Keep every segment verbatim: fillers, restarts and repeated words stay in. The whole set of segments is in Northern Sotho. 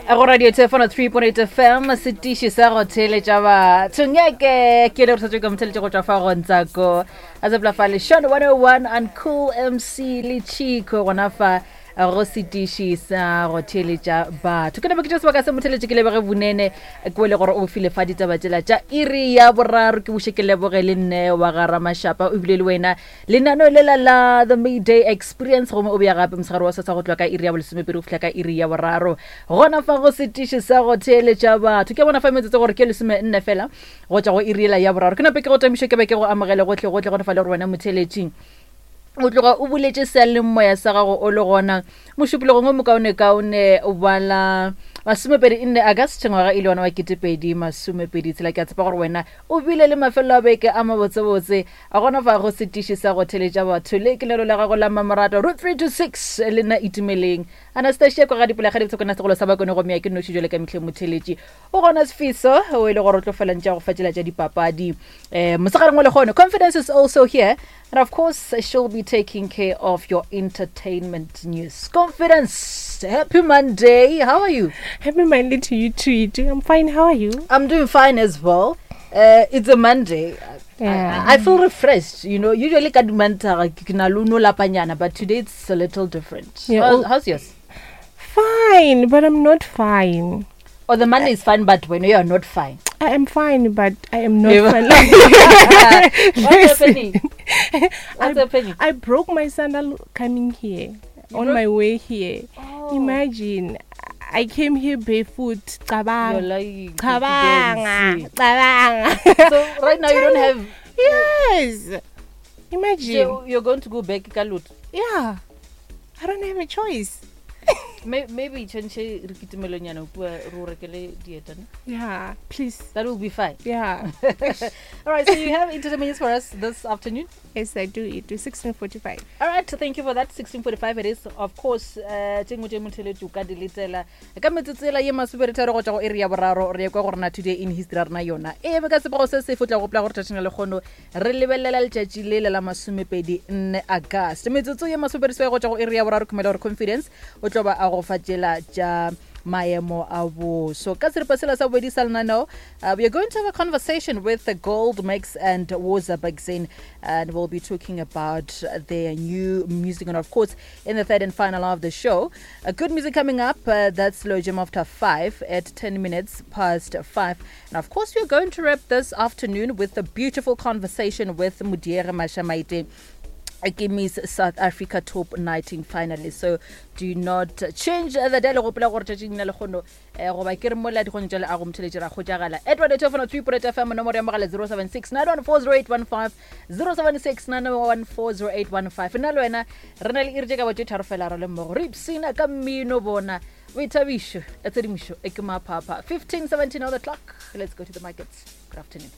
Go radio Thefano three point eight F M, setiši sa go theeletša batho. Ngeke ke le re tshwetše ka motheeletše go tšwa fa go Ntsako. A tsepela fa le Sean one oh one and Cool M C le Chico gona fa go setiši sa go theeletša batho. Ke napa ke tšea sebaka se motheeletše ke lebege Vunene, ke bone gore o file fa ditaba tšela tša iri ya boraro. Ke buše ke leboge le nne wa ga Ramashapa, o bile le wena lenaneo lela la The Mayday Experience, gomme o beya gape mosegare wa sesa go tloga ka iri ya bolesomepedi go fihla ka iri ya boraro gona fa go setiši sa go theeletša batho. Ke bona fa metsotso gore ke lesome nne fela go tšwa go iri yela ya boraro. Ke nape ke go tamiše ke be ke go amogele gohle gohle gona fa le gore wena motheeletšing o tloga o buletše seyalemoya sa gago o le gona mošupologong o mokaonekaone wa la masomepedi nne August ngwaga e le yona wa ketepedi masomepedi tshela. Ke a tshepa gore wena o bile le mafelo a beke a mabotsebotse a gona fa go setiši sa go theeletša batho. Le ke lelo la gago la mmamoratwa root three two six le nna Itumeleng Anastasia kwa ga dipula ga dibotse kona segolo sa bakone go meya ke noši jwale ka mehleng motheeletši o gona Sfiso o e le gore o tlo fela ntše a go fatšela tša dipapadi. Eh, mosegareng wa lehono, Confidence is also here, and of course she'll be taking care of your entertainment news. Confidence, happy Monday. How are you? Happy Monday to you too. I'm fine. How are you? I'm doing fine as well. Uh, it's a Monday. Yeah. I, I feel refreshed, you know. Usually ka dimanta ke na le no lapanyana, but today it's a little different. Yeah, How's, well, how's yours? Fine, but I'm not fine. Or the Monday is fine, but when you are not fine. I am fine, but I am not Yeah. fine. What's happening? What's I, happening? I broke my sandal coming here, You on broke my way here. Oh. Imagine, I came here barefoot. Cabang. You're lying. Cabanga. Cabanga. So right now you don't have... Yes. Imagine. So you're going to go back, Kalut. Yeah. I don't have a choice. Maybe change re kitimelonyana o bua re o rekele dieta, ne? Yeah, please. That will be fine. Yeah. All right, so you have entertainment news for us this afternoon? Yes, I do. It is sixteen forty-five. All right, thank you for that. sixteen forty-five it is, of course. Uh, tše nngwe tše motheeletši o ka di letela ka metsotso ela ye masometharo go tšwa go iri ya boraro, re ye kwa go rena today in history ya rena yona. E eme ka sebego se sefe o tla gopola gore tšatšing la lekgono re lebelela letšatši le le la masomepedi nne August. Metsotso ye masomepedi seswai go tšwa go iri ya boraro, khumela gore Confidence o tlo ba a go fa tšela tša maemo a boso. Ka seripa sela sa bobedi sa lenaneo, uh, we are going to have a conversation with the Gold Mix and Woza Bagzin, and we'll be talking about their new music. And of course, in the third and final hour of the show, uh, good music coming up. Uh, that's Slow Jam after five at ten minutes past five. And of course, we're going to wrap this afternoon with a beautiful conversation with Mudiere Mashamaite, Miss South Africa Top nineteen finalist. So do not change the dial. Gopola gore tšatšing la lekgono, eh, goba ke re mola dikgonyo tša leago motheeletši ra kgotšagala. Edward Etofano, three point eight F M, nomoro ya mogala zero seven six nine one four zero eight one five, zero seven six nine one four zero eight one five. Nna le wena re na le iri tše ka ba tše tharo fela re le mmogo. Re ipsina ka mmino bona. Boithabišo, ya tshedimošo, e ke maphapha. fifteen seventeen on the clock. Let's go to the markets. Good afternoon.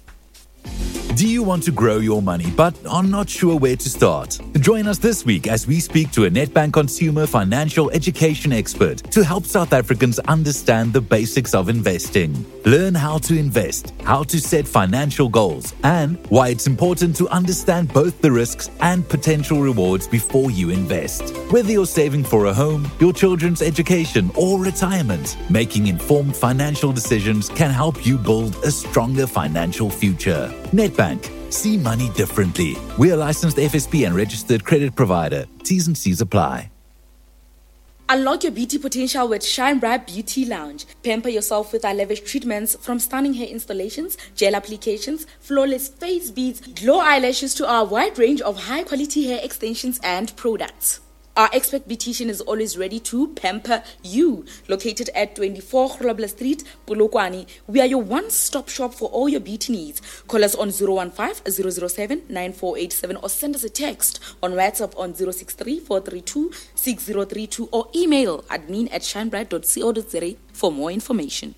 Do you want to grow your money but are not sure where to start? Join us this week as we speak to a Nedbank consumer financial education expert to help South Africans understand the basics of investing. Learn how to invest, how to set financial goals, and why it's important to understand both the risks and potential rewards before you invest. Whether you're saving for a home, your children's education, or retirement, making informed financial decisions can help you build a stronger financial future. Nedbank. See money differently. We are licensed F S P and registered credit provider. T's and C's apply. Unlock your beauty potential with Shine Bright Beauty Lounge. Pamper yourself with our lavish treatments, from stunning hair installations, gel applications, flawless face beads, glow eyelashes to our wide range of high-quality hair extensions and products. Our expert beautician is always ready to pamper you. Located at twenty-four Grobler Street, Polokwane, we are your one-stop shop for all your beauty needs. Call us on zero one five, zero zero seven, nine four eight seven or send us a text on WhatsApp on zero six three, four three two, six zero three two or email admin at shinebright dot co dot za for more information.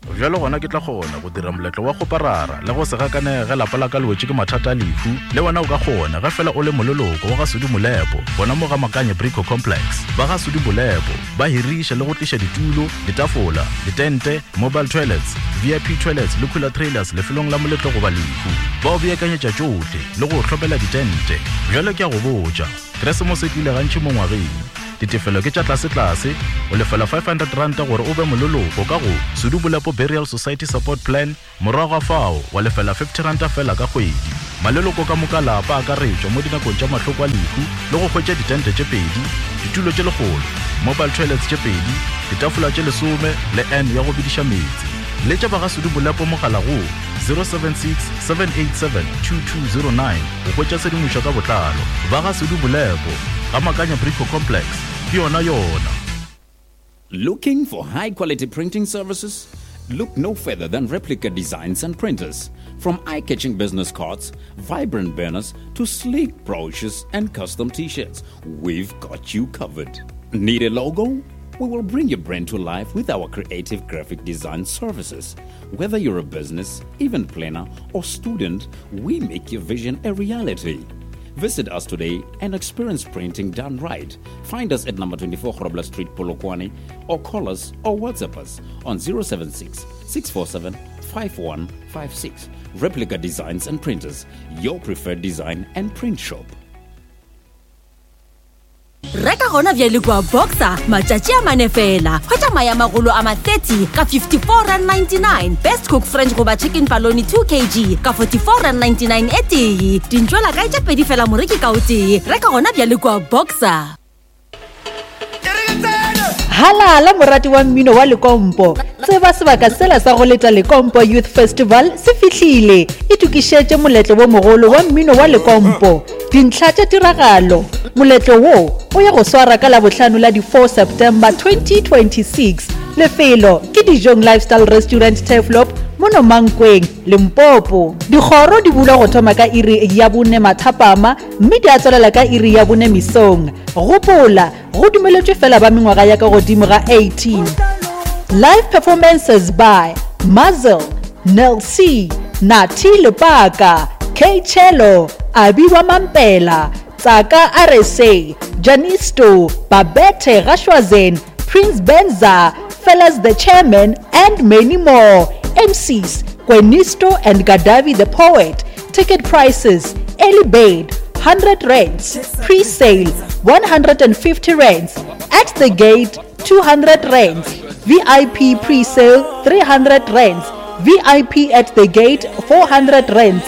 Bjalo gona ke tla kgona go dira moletlo wa go parara le go se gakanege lapa la ka le wetše ke mathata a lehu. Le wena o ka kgona ge fela o le moleloko wa ga Sudi Molepo, gona mo ga Makanye Brico Complex. Ba ga Sudi Molepo ba hiriša le go tliša ditulo, ditafola, ditente, mobile toilets, V I P toilets le cooler trailers lefelong la moletlo goba lehu. Ba o beakanyetša tšohle le go o hlopela ditente. Bjalo ke a go botša, Keresemose e tlile gantši mo ngwageng. Ditefelo ke tša tlasetlase, o lefela five hundred ranta gore o be moleloko ka go Sudu Bolepo Burial Society Support Plan, morago ga fao wa lefela fifty ranta fela ka kgwedi. Maleloko ka moka lapa a akaretšwa mo dinakong tša mahloko a lehu le go hwetša ditente tše pedi, ditulo tše lekgolo, mobile toilets tše pedi, ditafola tše lesome le N ya go bediša meetse. Letša ba ga Sudu Bolepo mogala go zero seven six, seven eight seven, two two zero nine go hwetša tshedimošo ka botlalo. Ba ga Sudu Bolepo, ga Makanya Brico Complex, ke yona yona. Looking for high quality printing services? Look no further than Replica Designs and Printers. From eye-catching business cards, vibrant banners, to sleek brochures and custom t-shirts, we've got you covered. Need a logo? We will bring your brand to life with our creative graphic design services. Whether you're a business, event planner, or student, we make your vision a reality. Visit us today and experience printing done right. Find us at number twenty-four Grobler Street, Polokwane, or call us or WhatsApp us on zero seven six, six four seven, five one five six. Replica Designs and Printers, your preferred design and print shop. Reka gona bjale kua Boxer matšatši a mane fela. Hwetša maya magolo a ma thirty ka fifty-four rand ninety-nine. Best Cook French goba chicken paloni two kilograms ka forty-four rand ninety-nine e tee. Dintšwela kae tša pedi fela moreki ka o tee. Reka gona bjale kua Boxer. Halala morati wa mmino wa Lekompo. Tseba sebaka sela sa go leta Lekompo Youth Festival se fihlile. Itokišetše moletlo wo mogolo wa mmino wa Lekompo. Dintlha tša tiragalo. Moletlo wo o ya go swara ka Labohlano la di four September twenty twenty-six. Lefelo ke Dijong Lifestyle Restaurant Turfloop mono Mankweng, Limpopo. Dikgoro di bulwa go thoma ka iri ya bone mathapama mme di a tswelela ka iri ya bone mesong. Gopola, go dumeletšwe fela ba mengwaga ya ka godimo ga eighteen. Live performances by Mazel, Nel C, Nati Lepaka, K Chelo, Abiwa Mampela, Tsaka R S A, Janisto, Babette Rashwazen, Prince Benza, Fellas the Chairman, and many more. M Cs, Kwenisto and Gadavi the Poet. Ticket prices, early bird, hundred rands, pre-sale, one hundred and fifty rands, at the gate, two hundred rands, V I P pre-sale, three hundred rands, V I P at the gate, four hundred rands.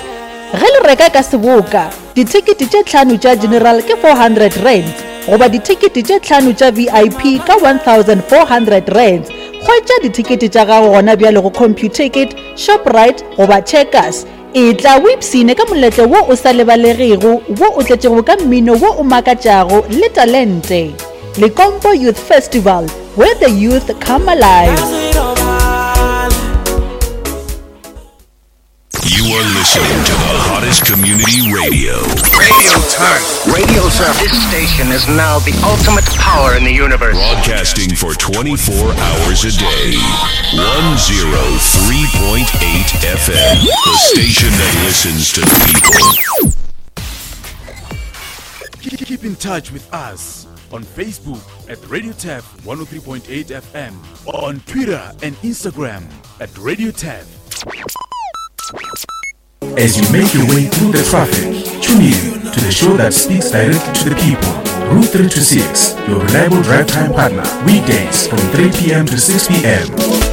Ge le reka ka seboka, dithekete tše tlhano tša general ke four hundred rands, goba dithekete tše tlhano tša V I P ka one thousand four hundred rands. Hwetša dithekete tša gago gona bjale go Computicket, Shoprite goba Checkers. E tla o ipsine ka moletlo wo o sa lebalegego, wo o tletšego ka mmino wo o makatšago le talente. Lekompo Youth Festival, where the youth come alive. You are listening to the hottest community radio. Radio Turf. Radio Turf. This station is now the ultimate power in the universe. Broadcasting for twenty-four hours a day. one oh three point eight F M. The station that listens to the people. Keep in touch with us on Facebook at Radio Turf one oh three point eight F M, on Twitter and Instagram at Radio Turf. As you make your way through the traffic, tune in to the show that speaks directly to the people. Route three two six, your reliable drive time partner, weekdays from three p.m. to six p.m.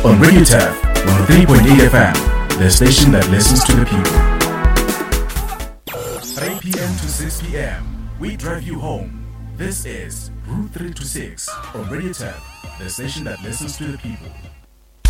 on Radio Turf one oh three point eight F M, the station that listens to the people. three p.m. to six p.m., we drive you home. This is Route three two six on Radio Turf, the station that listens to the people.